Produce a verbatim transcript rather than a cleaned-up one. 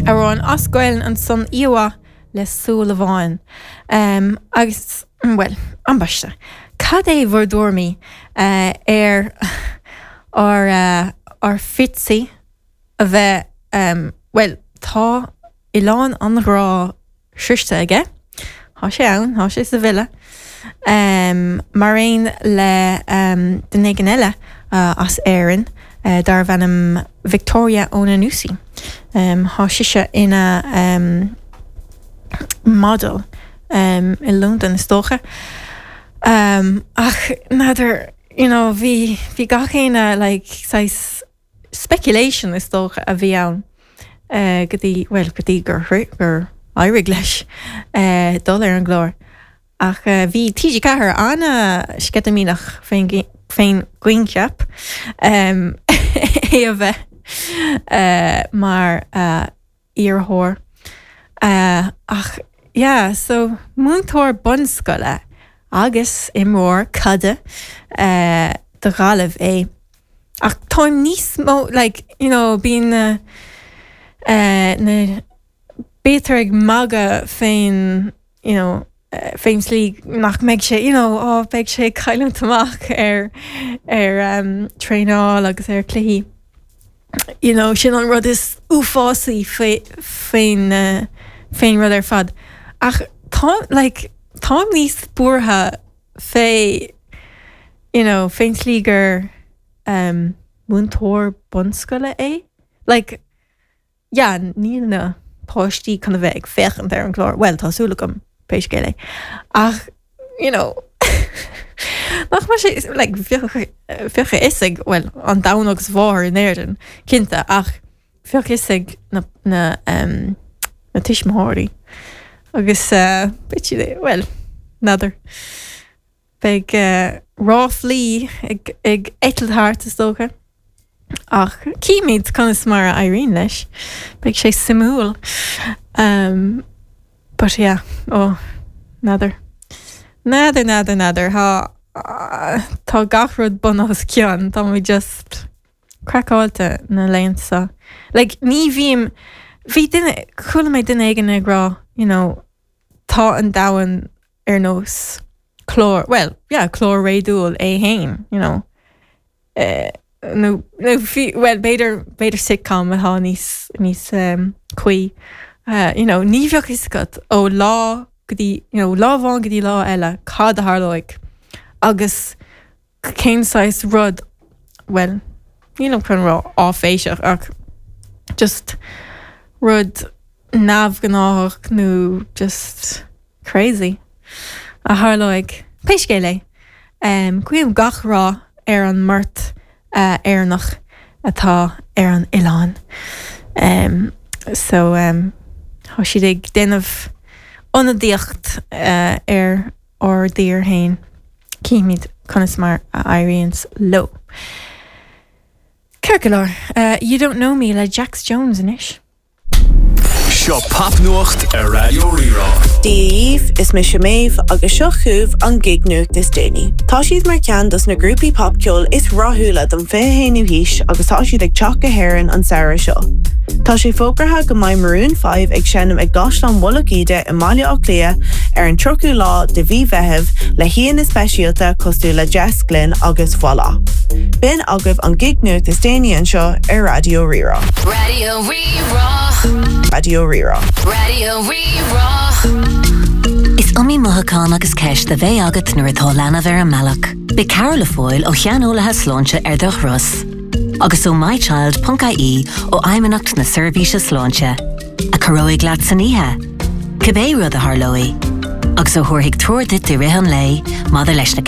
Amhrán as Gaeilge ansan íomhá le súil amháin. Um, agus well, ambaiste. Cad é bhur dtuairimí uh, ar ar uh, ar Fitzy a bheith um, well, tá Oileán an Ghrá sroichte aige. Tá sé ann, tá sé sa villa. Um, mar aon le um, duine éigin eile uh, as Éirinn uh, darbh ainm Victoria Onanusi. Um, Tá sise ina um, model um, i Londain is dócha. Um, ach n'fheadar you know, bhí bhí gach éinne like, saghas speculation is dócha a bhí ann uh, go dtí well go dtí gur gur éirigh leis uh, dul ar an gclár. Ach uh, bhí TG Ceathair an-sceitimíneach fén fén gcoincheap um, é a bheith uh, mar uh, iarrthóir. Uh, ach yeah, so múinteoir bunscoile agus imreoir caide uh, do Ghaillimh é. Ach táim níos mó like, you know, bíonn uh, uh, na b'fhéidir ag magadh fén you know, uh, fén slí nach mbeidh sé you know, oh, beidh sé cailliúint amach ar ar um, traenáil agus ar cluichí. You know, sin an rud is uafásaí fén uh, fén rud ar fad. Ach tá like, táim níos buartha fé you know, fén slí gur um, múinteoir bunscoile é? Like, yeah, níl na páistí chun a bheith ag féachaint ar an gclár, well tá súil agam pé scéal é. Ach you know, nach mar sé like, bheadh a fhios ag well, an domhan agus mháthair in Éirinn cinnte ach bheadh a fhios ag na, na, um, na tuismitheoirí. Agus uh, bit well, n'fheadar. Beidh uh, ráflaí ag, ag eitilt thart is dócha. Ach címid conas mar a éiríonn leis, Beidh sé suimiúil. Um, but yeah, oh, n'fheadar. N'fheadar n'fheadar n'fheadar Tá uh, tá gach rud bun os cionn tá mé just craiceáilte na laethanta seo. Like, ní bhím bhí duine chuala mé duine éigin ag rá you know, tá an domhan ar nós clár well yeah, clár réadúil é féin you know. Uh, nó nó well b'fhéidir b'fhéidir sitcom atá níos níos um, cuí uh, you know, ní bheadh fhios agat ó lá go dtí you know, lá amháin go dtí lá eile cad a tharlóidh agus cén saghas rud well níl chun rá áiféiseach ach just rud neamhghnách nó just crazy a tharlóidh pé scéal é um, guím gach rath ar an mbeirt uh, Éireannach atá ar an oileán. Um, so um, tá siad ag déanamh ionadaíocht uh, ar ár dtír féin címid conas mar a éiríonn leo. Ceart go leor, uh, you don't know me le Jax Jones anois. Seo popnuacht ar Raidió Rí-Rá. Díomh is mise Méabh agus seo chugaibh an gig-nuacht is déanaí. Tá siad mar cheann dos na grúpaí popcheoil is rathúla den fiche haonú haois agus tá siad ag teacht go hÉirinn an samhradh seo. Tá sé fógartha go mbeidh Maroon five ag seinm ag gCaisleán Mhullach Íde i mBaile Átha Cliath ar an tríochadú lá de mhí Mheithimh le haíonna speisialta cosúil le Jess Glynne agus Voila. B'in agaibh an gig-nuacht is déanaí anseo ar Raidió Rí-Rá. Raidió Rí-Rá. Raidió Rí-Rá. Raidió Rí-Rá. Is iomaí mothúchán agus ceist a bheidh agat nuair atá leanbh ar an mbealach. Beidh cabhair le fáil ó shaineolaithe sláinte ar do thuras. Agus ó mychild.ie ó Fheidhmeannacht na Seirbhíse Sláinte, a chabhróidh leat san oíche. Cibé rud a tharlóidh, agus a thabharfaidh treoir duit i rith an lae maidir leis na